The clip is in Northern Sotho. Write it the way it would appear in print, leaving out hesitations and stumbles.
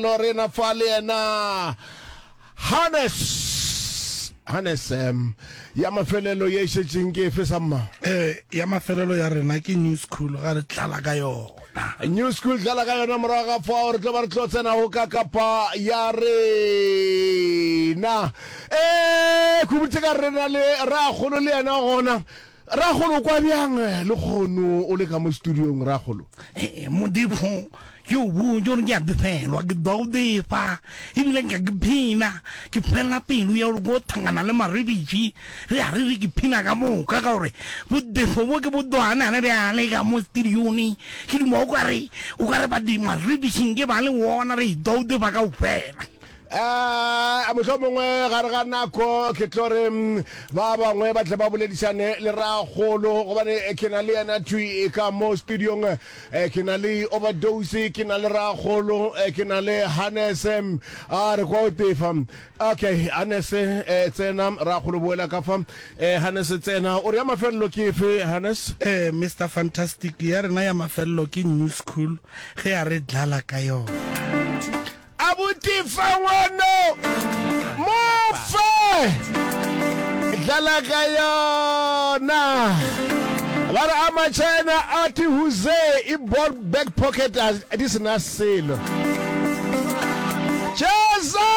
Rena fa le yena Hannes. Hannes, um, ya mafelelo ye e šetšeng ke efe samma? Eh, ya mafelelo ya rena ke New School, ga re tlala ka yona. New School tlala ka yona morago ga fao re tlo ba re tlo tsena go ka kapa ya rena. Eh, khubutse ka rena le rakgolo le yena gona. Rakgolo o kwa bjang lekgono o le ka mo studiong rakgolo? Ee, Modimo, ke o botše gore ke a befelwa, ke dwa go befa, ebile nka ke phina, ke fela pelo ya gore ko thangana le Marebitši, re a re re ke phina ka moka, ka gore bobefo bo ke bo dwana le bjale ka mo studione, ke duma o ka re, o ka re ba Marebitšing ke ba le wona, re dwa go befa kaofela. A mohlomongwe gare ga nako ke tlo re ba bangwe ba tle ba boledišane le rakgolo, gobane ke na le yena thwi ka mo studiong. Ke na le Overdose, ke na le rakgolo, ke na le Hannes. A re kwa o tefa. Okay, Hannes tsena, rakgolo boela ka fa. Hannes tsena, o re ya mafelelo ke efe Hannes? Mister Fantastic, ya rena ya mafelelo ke New School, ge a re dlala ka yona. Abuti fa ngwano mo fe dlala ka yona. Ba re a ma-China a ti huze i ball back pocket a di se na selo. Cheza!